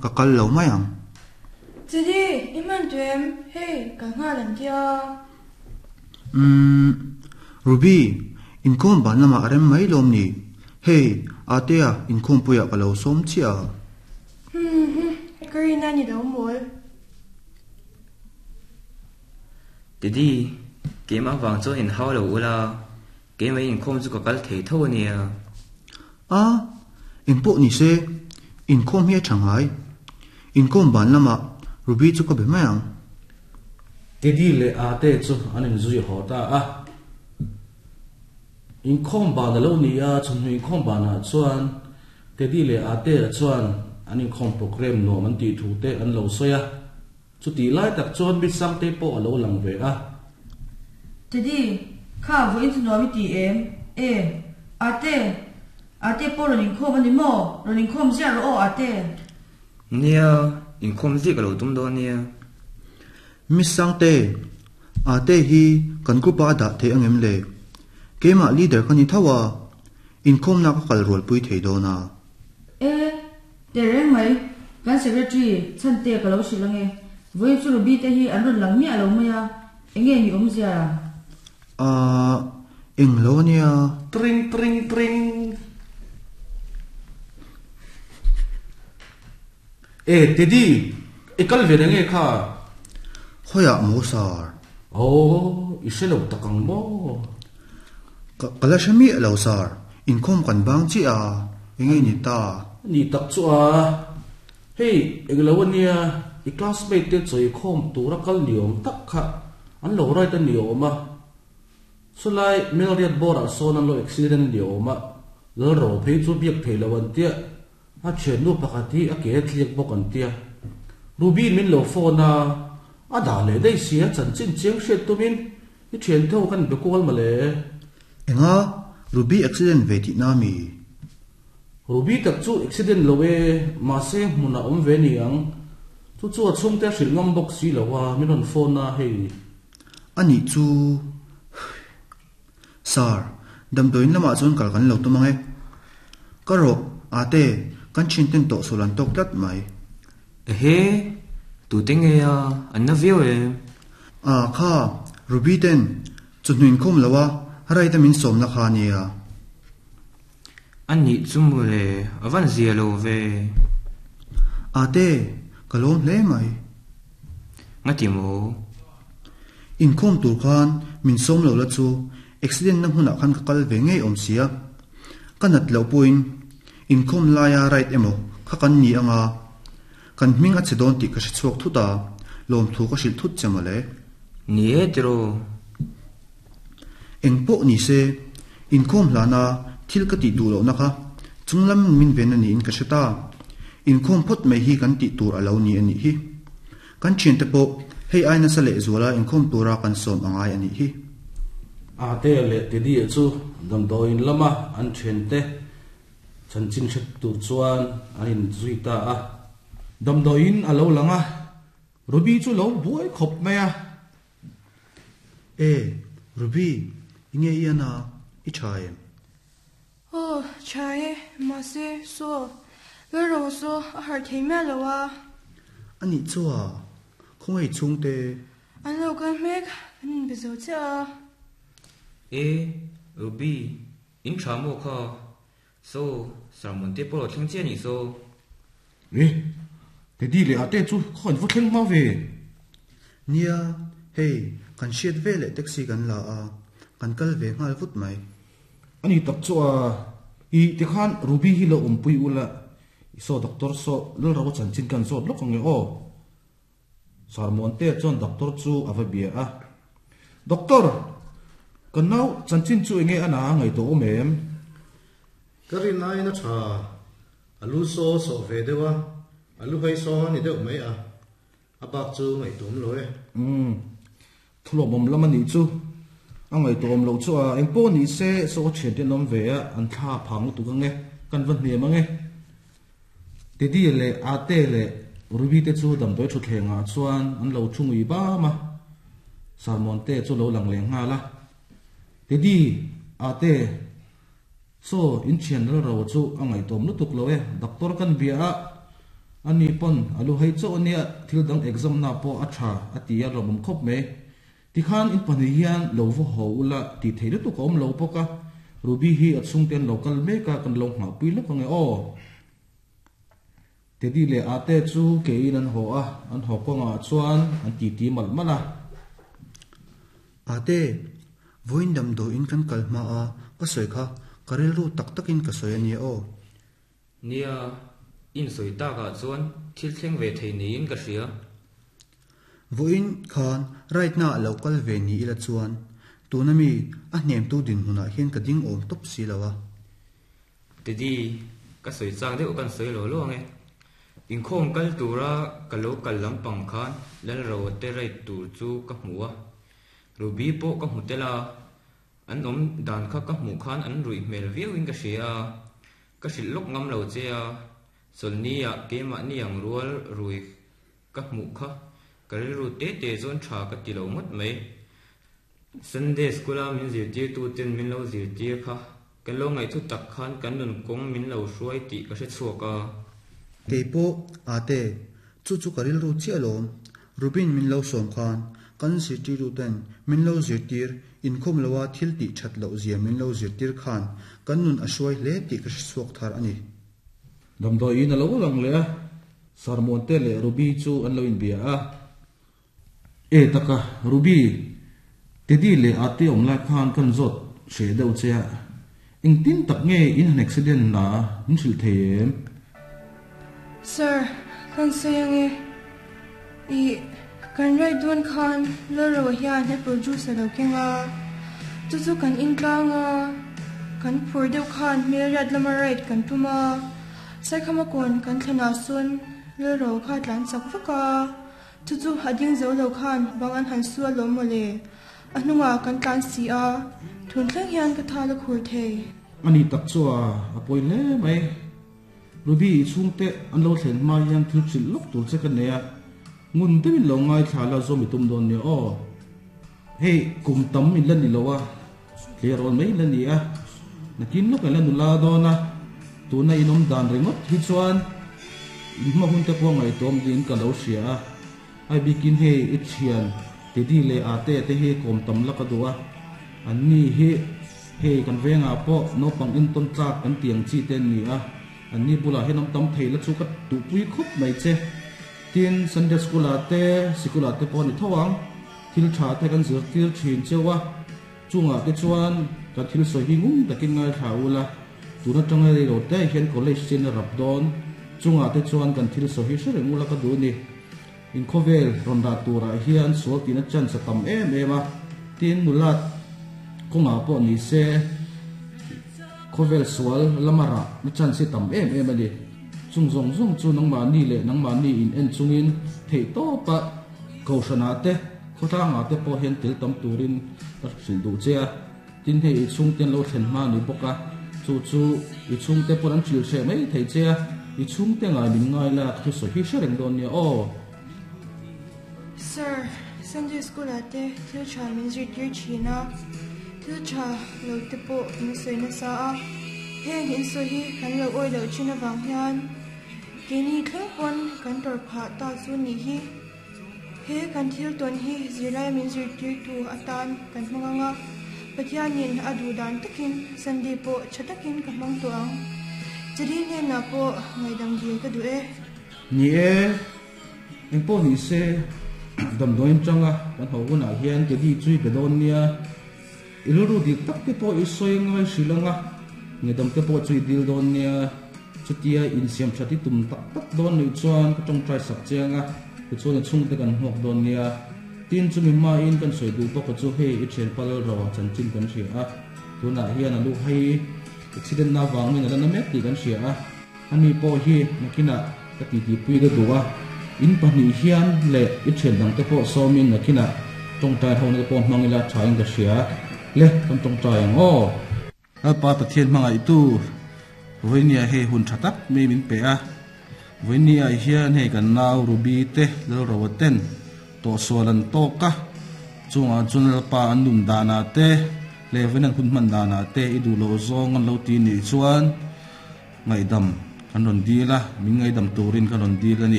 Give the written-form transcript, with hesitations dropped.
Ka kal lo mai ang. Chidi, i hman tawh em? Hei, kal nghal an tia. Umm, Ruby, inkhawm ban lamah a rem mai lawm ni? Hei, Atea, inkhawmpuiah ka lo sawm chiah a. Humm, ka rin a ni lo mawl. Teddy, keimah vang chuan inhau lo ula, keimah inkhawm chu ka kal thei tho a nia. A, engpawh ni se, inkhawm hi a tha ngai. Inkhawm ban lamah Ruby chu ka be mai ang. Teddy leh Ate chu an inzui haw ta a. Inkhawm ban a lo ni a, chawhnu inkhawm banah chuan Teddy leh Ate chuan an inkhawm programme nuam an tih thu te an lo sawi a. Chutih lai tak chuan mi Sangtei pawh a lo lang ve a. Teddy, kha vawiin chu nuam i ti em? E, Ate, Ate pawh rawn inkhawm a ni maw? Rawn inkhawm ziah rawh aw Ate. Nia, inkhawm ziah ka lo tum dawn nia. Miss Sangte, Ate hi kan group ah a dah thei angem le? Keimah leader ka ni tho a, inkhawmna ka kal rualpui thei dawn a. E, Tehreng mai, kan secretary Chhante ka lo hrilh ange. Vawiin chu Ruby te hi an rawn lang miah lo mai a, enge ni awmzia? Ahh, eng lo ania. Tring tring tring. E, Teddy, i kal ve reng e kha? Khawiah maw sir? Aw, i hre lo tak ang maw? Ka ka la hre miah lo sir, inkhawm kan bang chiah a, enge ni ta? Ni tak chu a, hei englo ania, i classmate te chawikhawm tura kal ni awm tak kha an lo ride a ni awm a, chulai Melriat bawrah sawn an lo accident a ni awm a, Lalro phei chu biak theih loh an tia, A thiannu pakhat hi a ke a tliak bawk an tia. Ruby min lo phone a, a dah leh daih sia chanchin chiang hriat tumin i thian tho kan be kual mawle. Enga? Ruby accident ve tih na mi? Ruby tak chu accident lo e, mahse hmunah awm ve ni ang. Chu chu a chhungte a hrilh ngam bawk si lo a, min rawn phone a hei. Anih chu. Sir, damdawiin lamah chuan kal kan lo tum ang e. Ka rawh, Ate, kan thianten tawh sual an tawk tlat mai. Ehe, tute nge a, an na viau em? A, kha, Ruby ten, chawhnu inkhawm lo a, right a min sawmna kha a nia. A nih chu mawle, a van zia lo ve. Ate, ka lawm hle mai. Ngati maw? Inkhawm tur khan min sawm lo la chu accident na hmunah khan ka kal ve ngei awm sia. Ka nat loh pawhin inkhawm laia ride emaw kha kan ni anga kan hming a che dawn tih ka hre chhuak thut a, lawmthu ka hrilh thut che mawle. Ni e tiraw? Eng pawh ni se, inkhawm hlana thil ka tih duh lohna kha chunglam min ven a niin ka hre ta. Inkhawm phawt mai hi kan tih tur a lo ni a nih hi. Kan thiante pawh hei ai nasa leh zuala inkhawm tura kan sawm a ngai a nih hi. Ate leh Teddy-a chu damdawiin lama an thiante chanchin hre tur chuan an inzui ta a. Damdawiin a lo lang a, Ruby chu lo buai khawp mai a. E, Ruby, i nge i an a, i tha em? Aw, tha e, mahse, saw, Lalro saw a harh thei miah lo a. A nih chu a, khawngaih chhungte. An lo kal hmek, an inbe zo chiah a. E, Ruby, in tha maw kha? Saw, sermon te pawh lo thleng chiah a nih saw. E, Teddy leh Ate chu khaw an va thleng hma ve. Nia, hei, kan hriat ve leh taxi kan la a, kan kal ve nghal vut mai. A ni tak chu a, i tikhan Ruby hi lo awmpui ula, i saw doctor saw Lalro chanchin kan zawt lawk ang e aw. Sarmuantea chuan doctor chu a va bia a, Doctor, ka nau chanchin chu enge a na ngaihtuah awm em? Ka rin aiin a tha, a lu saw sawh ve deuh a, a lu hai saw a ni deuh mai a, a bak chu ngaihtuah awm lo e. Umm, thulawmawm lam a nih chu, a ngaihtuah awm loh chu a, engpawh ni se saw thiante an awm ve a, an thla phang lutuk ang e, kan va hniam ang e. Teddy leh Ate leh Ruby te chu damdawi thutthleng ah chuan an lo thu ngui bam a, Sarmon te chu lo lang leh nghal a. Teddy, Ate, saw in thian ral ro chu a ngaihtuam lutuk lo e, doctor kan bia a. Ani pawn a lu hei chauh ania thil dang exam na pawh a tha a ti a lawmawm khawp mai. Tikhan in pahnih hian lo va haw ula tih theih lutuk a awm lo bawk a, Ruby hi a chhungte an lo kal mek a kan lo nghahpui lawk ange aw. Teddy leh Ate chu keiin an haw a, an haw kawngah chuan an titi malh malh a. Ate, vawiin damdawiin kan kal hma a, ka sawi kha ka rilru tak takin ka sawi ania aw. Nia, insawi takah chuan thil thleng ve thei niin ka hria. Vawiin khan ride na a lo kal ve ni ila chuan tuna mi a hnemtu dinhmunah hian ka ding awm tawp si lo a. Teddy, ka sawi chak deuh kan sawi lo lo ang e. Inkhawm kal tura ka lo kal lampang khan Lalroa te ride tur chu ka hmu a, Ruby pawh ka hmu tel a, an awm dan kha ka hmuh khan an ruih hmel viauin ka hria a, ka hrilh lawk ngam lo che a, Chawlhni-ah keimahni ang rual rui ka hmuh kha ka rilru te te chuan tha ka ti lo ngawt mai. Sunday School-a min zirtirtuten min lo zirtir kha kan lo ngaihthu tak khan kan nun kawng min lo hruai tih ka hre chhuak a. Kei pawh ate, chu chu ka rilru chiah alawm. Rubin min lo sawm khan kan zirtirtuten min lo zirtir inkhawm loa thil tih that loh zia min lo zirtir khan kan nun a hruai hle tih ka hre chhuak thar a ni. Damdawiin a lo lang leh a, Sarmuante leh Ruby chu an lo inbia a. E taka, Ruby, Teddy leh Ate awm lai khan kan zawt hreh deuh che a, engtin tak nge in han accident na min hrilh thei em? Sir, kan sawi ange. Ih, kan ride dawn khan Loro hian apple juice a lo keng a, chu chu kan intlang a, kan phur deuh khan hmelriat lama ride kan tum a, Saikhama kawn kan thlenah sawn Loro kha a tlan chak vak a, chu chu a ding zo lo khan bang an han su alawm mawle, a hnungah kan tlan si a, thun thleng hian ka thal a khur thei. Ani tak chu a pawi hle mai. Ruby i chhungte an lo thlen hma hian thil hrilh lawk tur che ka nei a, ngun deuhin lo ngaithla la zawm i tum dawn nia aw. Hei kum tam in la ni lo a, tleirawl mai la ni a, nakin lawk in la nula dawn a, tuna in awm dan ringawt hi chuan in hma hun te pawh ngaihtuah awm ding ka lo hria a, ai bikin hei i thian Teddy leh Ate te hi kawm tam la ka duh a, an ni hi Hei kan vengah pawh naupang intawn tlak kan ti ang chi te an ni a, an ni bulah hian awm tam thei la chu ka duhpui khawp mai che. Tin, Sunday School ah te, sikul ah te pawh a ni tho ang, thil tha te kan zirtir thin cheu a, chungah te chuan kan thil sawi hi ngun takin ngaithla ul a, tun atanga rei lo te hian college chin a rap dawn, chungah te chuan kan thil sawi hi hre reng ula ka duh a ni. Inkhawvel rawn dah turah hian sual tihna chance a tam em em a, tin nula kawngah pawh ni se khawvel sual lama rahna chance hi tam em em a ni. Chung zawng zawng chu nangmahni leh nangmahni in en chungin theih tawpa kohhranah te khawtlangah te pawh hian tel tam turin ka hrilh duh che a, tin hei i chhungte an lo thlen hma a ni bawk a, chu chu i chhungte pawn an hrilh hreh mai thei che a, i chhungte ngai min ngai la ka thusawi hi hre reng dawn nia aw. Sir, Sunday School ah te thil tha min zirtir thin a, thil tha lo te pawh min sawi nasa a, heng in sawi hi kan lo awi loh thin avang hian keini thleng pawn kan tawrh phah ta chu nih hi. He kan thil tawn hi zirlai min zirtirtu atan kan hmang ang a, Pathianin a duh dan takin Sunday pawh tha takin ka hmang tawh ang. Chadi hnenah pawh ngaihdam dil ka duh e. Ni e, engpawh ni se damdawiin tanga kan ho hunah hian Teddy chu i be dawn nia, i rilru dik tak te pawh i sawi ngai hrilh ang a, ngaihdam te pawh chu i dil dawn nia, chutia insiam that i tum tak tak dawn nih chuan ka tawngtai sak che ang a, tichuan i chhungte kan hmuak dawn nia. Tin chumi hmain kan sawi duh bawk a chu hei i thianpa Lalro chanchin kan hria a, tunah hian a lu hei accident na avangin a la na mek tih kan hria a. Ani pawh hi nakinah ka titipui ka duh a, in pahnih hian leh i thian dangte pawh sawmin nakinah tawngtai hona te pawh hmang ila thain ka hria. Le, kan tawngtai ang aw. Lalpa Pathian hmangaihtu, vawinia hei hun tha tak mai min pe a. Vawinia hian hei kan nau Ruby te Lalroa ten tawhsual an tawk a, chungah chuan Lalpa an nun danah te leh vawiin an hun hman danah te i duh loh zawng an lo ti nih chuan, Ngaihdam. Kan rawn dil a, min ngaidam turin ka rawn dil a ni.